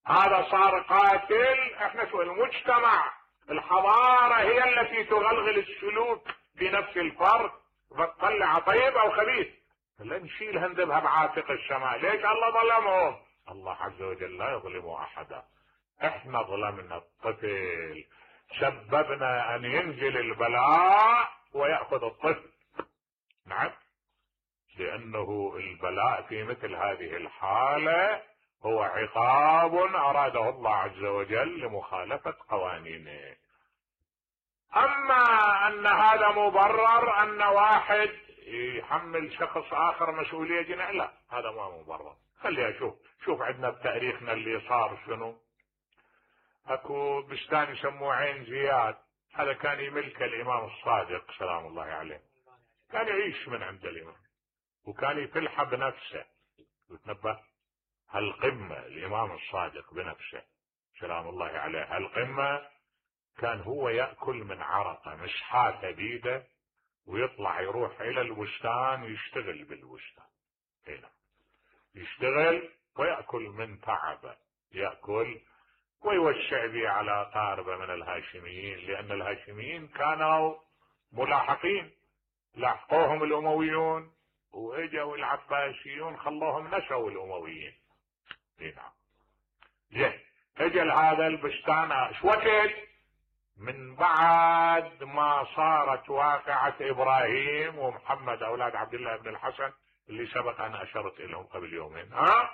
هذا صار قاتل، احنا سوينا. المجتمع الحضارة هي التي تغلغل السلوك في نفس الفرد فتطلع طيب او خبيث. لا نشيل هندبها بعاتق السماء، ليش الله ظلمهم؟ الله عز وجل لا يظلم احدا، احنا ظلمنا الطفل، سببنا ان ينزل البلاء ويأخذ الطفل. نعم، لانه البلاء في مثل هذه الحالة هو عقاب أراده الله عز وجل لمخالفة قوانينه. أما أن هذا مبرر أن واحد يحمل شخص آخر مسؤولية جنائية، لا، هذا ما مبرر. خليها أشوف شوف عندنا بتاريخنا اللي صار شنو. اكو بستان يسموه عين زياد، هذا كان يملك الإمام الصادق سلام الله عليه، كان يعيش من عند الإمام وكان يفلح بنفسه وتنبه. هالقمة الإمام الصادق بنفسه سلام الله عليه، هالقمة كان هو يأكل من عرقه، مش حاته بيده، ويطلع يروح إلى البستان ويشتغل بالبستان هنا، يشتغل ويأكل من تعبه، يأكل ويوشع به على قاربة من الهاشميين، لأن الهاشميين كانوا ملاحقين، لاحقوهم الأمويون واجوا العباسيون خلوهم نسوا الأمويين. نعم. زين، اجل هذا البستان ايش وقت؟ من بعد ما صارت واقعة إبراهيم ومحمد أولاد عبد الله بن الحسن اللي سبق أن أشرت لهم قبل يومين. ها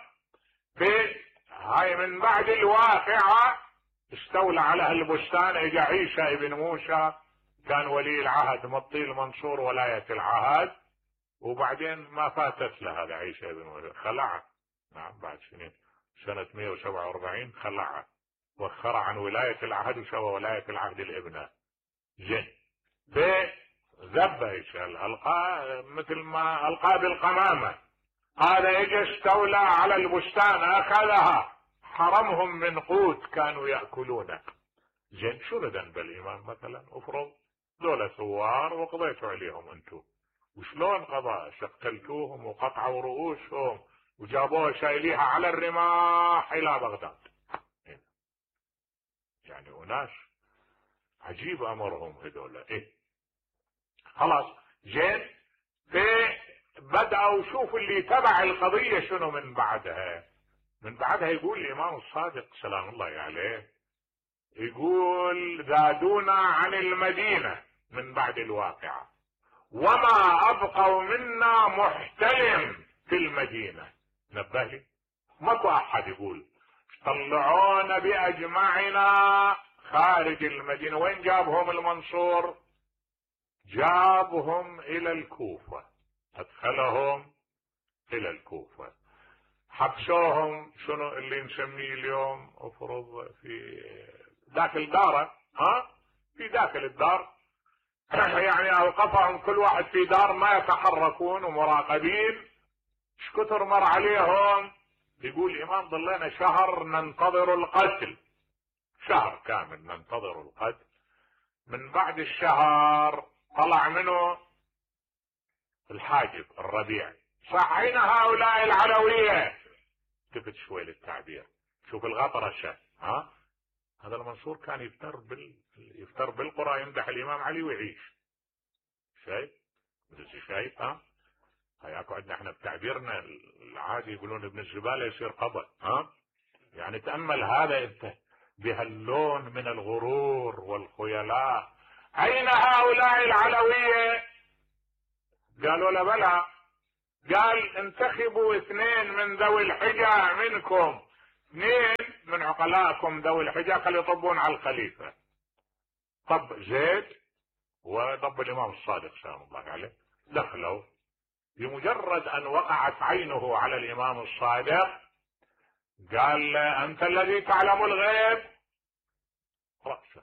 في هاي من بعد الواقعة استولى على هالبستان. اجى عيسى ابن موسى كان ولي العهد مطي المنصور ولاية العهد، وبعدين ما فاتت له هذا عيسى ابن موسى، خلعه. نعم، بعد سنين سنة مئة وسبعة وأربعين خلعه وخر عن ولاية العهد وسوى ولاية العهد الابنة. زين، ذبه يسأل القاه مثل ما القاه بالقمامة. هذا اجى استولى على البستان اخذها، حرمهم من قوت كانوا يأكلونه. زين، شو ذنب الامام مثلا؟ افرض دولة ثوار وقضيتوا عليهم انتم، وشلون قضاء؟ قتلتوهم وقطعوا رؤوسهم وجابوها شايليها على الرماح الى بغداد. يعني أناس عجيب امرهم هذول. ايه خلاص. زين، في بدأوا شوف اللي تبع القضية شنو من بعدها. من بعدها يقول الإمام الصادق سلام الله عليه، يقول زادونا عن المدينة من بعد الواقعة وما أبقوا منا محتلم في المدينة. نبه لي، ماكو أحد يقول طلعونا بأجمعنا خارج المدينة. وين جابهم المنصور؟ جابهم إلى الكوفة، أدخلهم إلى الكوفة، حبسوهم شنو اللي نسميه اليوم افرض في داخل داره، ها في داخل الدار يعني اوقفهم كل واحد في دار ما يتحركون ومراقبين. ايش كثر مر عليهم؟ يقول الامام ضلينا شهر ننتظر القتل، شهر كامل ننتظر القتل. من بعد الشهر طلع منه الحاجب الربيع، صحين هؤلاء العلوية. التفت شوي للتعبير، شوف الغطرشة. ها هذا المنصور كان يفتر بال يفتر بالقرى، يمدح الامام علي ويعيش. شايف؟ شايف؟ ها هياكو عندنا احنا بتعبيرنا العادي يقولون ابن الزبالة يصير قبر. ها يعني تأمل هذا انت بهاللون من الغرور والخيلاء. اين هؤلاء العلوية؟ قالوا له بلى. قال انتخبوا اثنين من ذوي الحجة منكم، اثنين من عقلائكم ذوي الحجة خلي يطبون على الخليفة. طب زيد وطب الامام الصادق سلام الله عليه، دخلوا. بمجرد ان وقعت عينه على الامام الصادق قال له انت الذي تعلم الغيب؟ رأسا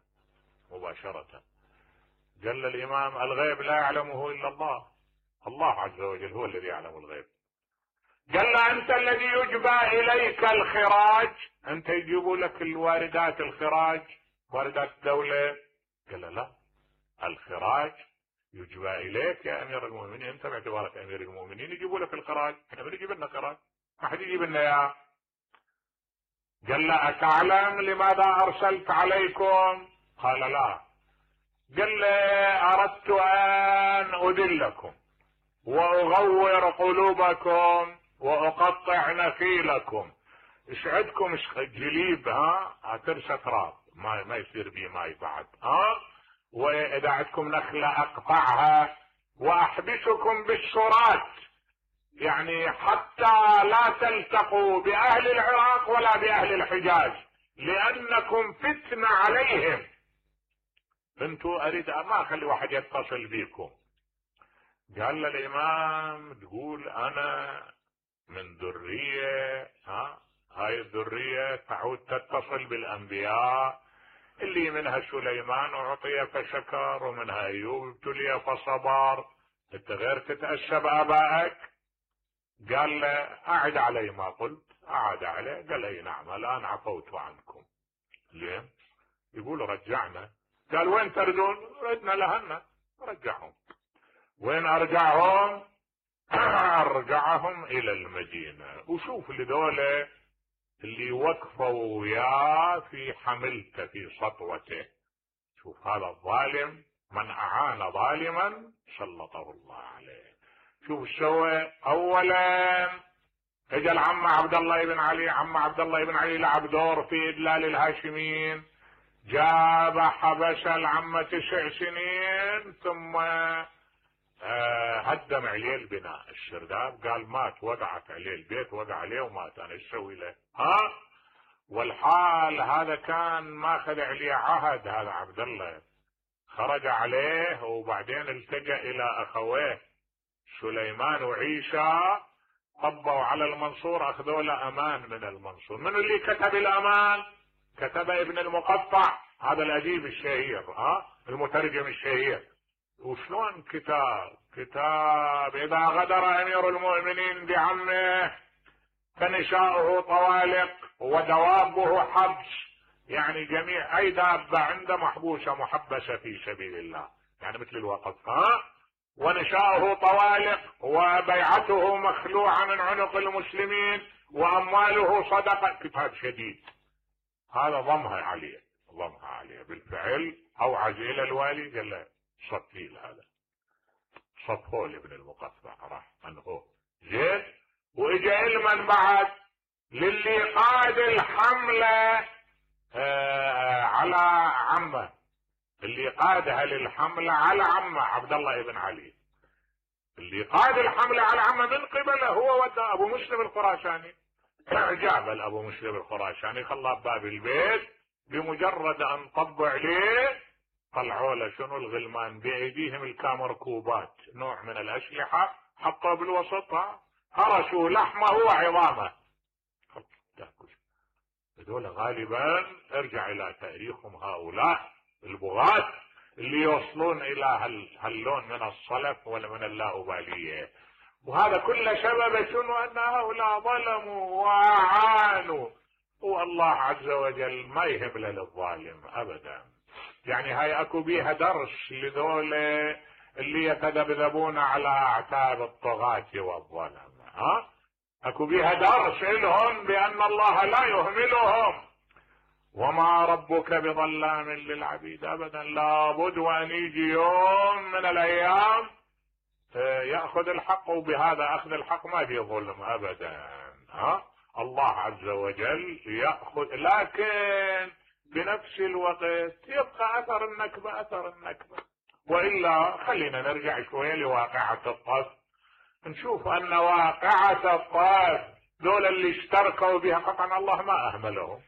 مباشرة قال له الامام الغيب لا يعلمه الا الله، الله عز وجل هو الذي يعلم الغيب. قال له انت الذي يجبى اليك الخراج، انت يجيبوا لك الواردات الخراج واردات الدولة؟ قال له لا، الخراج يجبى اليك يا امير المؤمنين، انت باعتبارك امير المؤمنين يجيبوا لك الخراج، احنا بنجيب لنا خراج، ما حد يجيب لنا اياه. قال له اتعلم لماذا ارسلت عليكم؟ قال لا. قال له اردت ان اذلكم واغور قلوبكم واقطع نخيلكم. ايش عندكم؟ ايش جليب ها هترسى تراب ما ما يصير بيه ماي بعد، ها واذا عندكم نخله اقطعها واحبسكم بالشرات، يعني حتى لا تلتقوا بأهل العراق ولا بأهل الحجاز لأنكم فتنة عليهم. انتوا اريد ما اخلي واحد يتصل بيكم. قال للامام تقول انا من ذرية، ها هاي الذرية تعود تتصل بالانبياء اللي منها سليمان اعطي فشكر ومنها ايوب ابتلي فصبر، انت غير تتأسى بآبائك؟ قال له اعد علي ما قلت. اعد عليه قال اي نعم الان عفوت عنكم. ليه؟ يقول رجعنا. قال وين تردون؟ ردنا لهنا. رجعهم. وين ارجعهم؟ ارجعهم الى المدينة. وشوف لذولا اللي وقفوا وياه في حملته في سطوته. شوف هذا الظالم من اعان ظالما سلطه الله عليه. شوف سوى. اولا اجى العم عبد الله بن علي. عم عبد الله بن علي لعب دور في ادلال الهاشميين. جاب حبس العم تسع سنين ثم هدم عليه البناء. السرداب قال مات، وقعت عليه البيت، وقع عليه ومات. انا ايش اسوي له؟ ها؟ والحال هذا كان ماخذ عليه عهد. هذا عبد الله خرج عليه وبعدين التجأ الى اخويه سليمان وعيسى، طبوا على المنصور، اخذوا له امان من المنصور. من اللي كتب الامان؟ كتب ابن المقطع، هذا الاديب الشهير، ها المترجم الشهير. وشلون كتاب؟ كتاب اذا غدر امير المؤمنين بعمه فنساؤه طوالق ودوابه حبس. يعني جميع اي دابة عنده محبوسة محبسة في سبيل الله، يعني مثل الوقف. ها؟ ونساؤه طوالق وبيعته مخلوعة من عنق المسلمين وامواله صدقة. كتاب شديد. هذا ضمها عليه، ضمها عليه بالفعل. اوعز الى الوالي قال له صفيل، هذا صفه لابن المقطع راح عنه. زين. واجا علما بعد للي قاد الحملة آه على عمه، اللي قادها للحملة على عمه عبد الله بن علي، اللي قاد الحملة على عمه من قبله هو ودى ابو مسلم الخراساني. جاب ابو مسلم الخراساني خلاه بباب البيت، بمجرد ان طبوا عليه طلعوا له شنو؟ الغلمان بايديهم الكامركوبات، نوع من الاسلحه، حطوا بالوسط، هرسوا لحمه وعظامه. هذول غالبا ارجع الى تاريخهم هؤلاء البغاة اللي يوصلون الى هاللون من الصلف ولا من اللاؤباليه. وهذا كل سبب شنو؟ ان هؤلاء ظلموا واعانوا، والله عز وجل ما يهب للظالم ابدا. يعني هاي اكو بيها درس لذول اللي يتذبذبون على اعتاب الطغاة والظلم. ها؟ اكو بيها درس لهم بان الله لا يهملهم، وما ربك بظلام للعبيد ابدا. لابد وان يجي يوم من الايام يأخذ الحق، وبهذا اخذ الحق ما في ظلم ابدا. ها؟ الله عز وجل يأخذ، لكن بنفس الوقت يبقى اثر النكبة اثر النكبة. والا خلينا نرجع شوية لواقعة الطف، نشوف ان واقعة الطف دول اللي اشتركوا بها قطعا الله ما اهملهم.